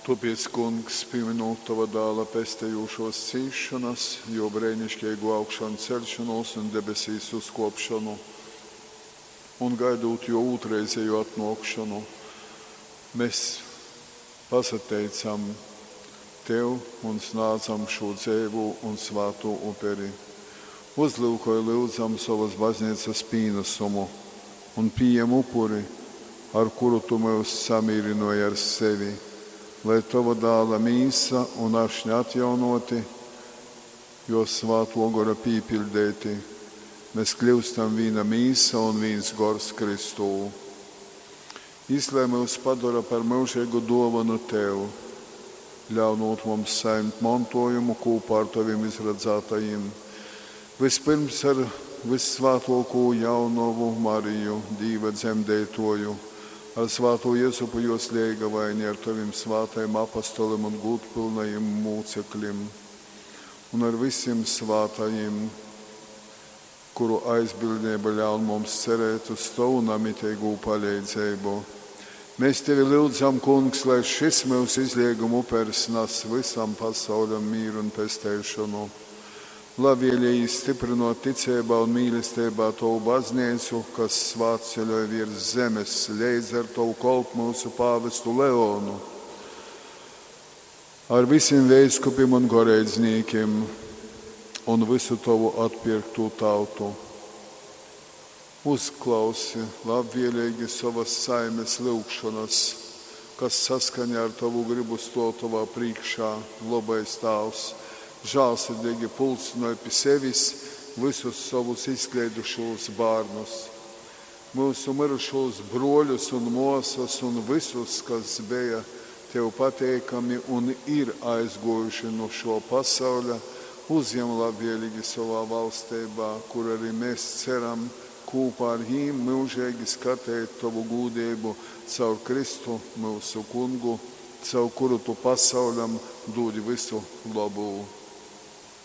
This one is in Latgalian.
Tōpēc, Kungs, pīmynūt tova Dāla pestejūšōs cīsšonas, jō breiniškeigū augšanceļšonūs un debesīs uzkōpšonu, un gaidūt jō ūtrreizejū atnōkšonu, mes pasateicam tev un snādzam šū dzeivū un svātū uperi. Uzlyukoj, lyudzam, sovas bazneicas pīnasumu un pījem upuri, ar kuru tu myus samīrynōji ar sevi, lai tova Dāla mīsa un ašņa atjaunōti, jō Svātō Gora pīpiļdeiti, mes kļyustam vīna mīsa un vīns gors Kristū. Jys lai myus padora par myužeigu dōvonu tev, ļaunūt mums sajimt montōjumu kūpā ar tovim izradzātajim, vyspyrms ar vyssvātōkū jaunovu Mariju, Dīva dzemdeitōju, ar svātū Jezupu jōs leigavaini, ar tovim svātajim apostolim un gūdpylnajim mūceklim un ar vysim svātajim, kuru aizbildneiba ļaun mums cerēt uz tovu namiteigū paleidzeibu. Mēs tevi lyudzam, Kungs, lai šys myusu izleiguma upers nas vysam pasauļam mīru un pesteišonu. Labvēlīgi stiprinot ticeibā un mīlesteibā tovu baznīcu, kas svātceļoj virs zemes, leidz ar tovu kolpu mūsu pāvestu Leonu, ar visiem veiskupim un goreidzniekiem un visu tovu atpirkto tautu. Uzklausi labvēlīgi savas saimes lūgšanas, kas saskaņā ar tavu gribu stāv tavā priekšā, labais Tēvs, žēlsirdīgi pulcinoj pie sevis visus savus izkleidušos bērnus, mūsu mirušos broļus un māsas un visus, kas bija tev pateikami un ir aizgojuši no šo pasauļa, uzņem labvēlīgi savā valstībā, kur arī mēs ceram kopā ar viņiem mūžīgi skatīt tavu gūdību caur Kristu mūsu kungu, caur kuru tu pasauļam dod visu labu.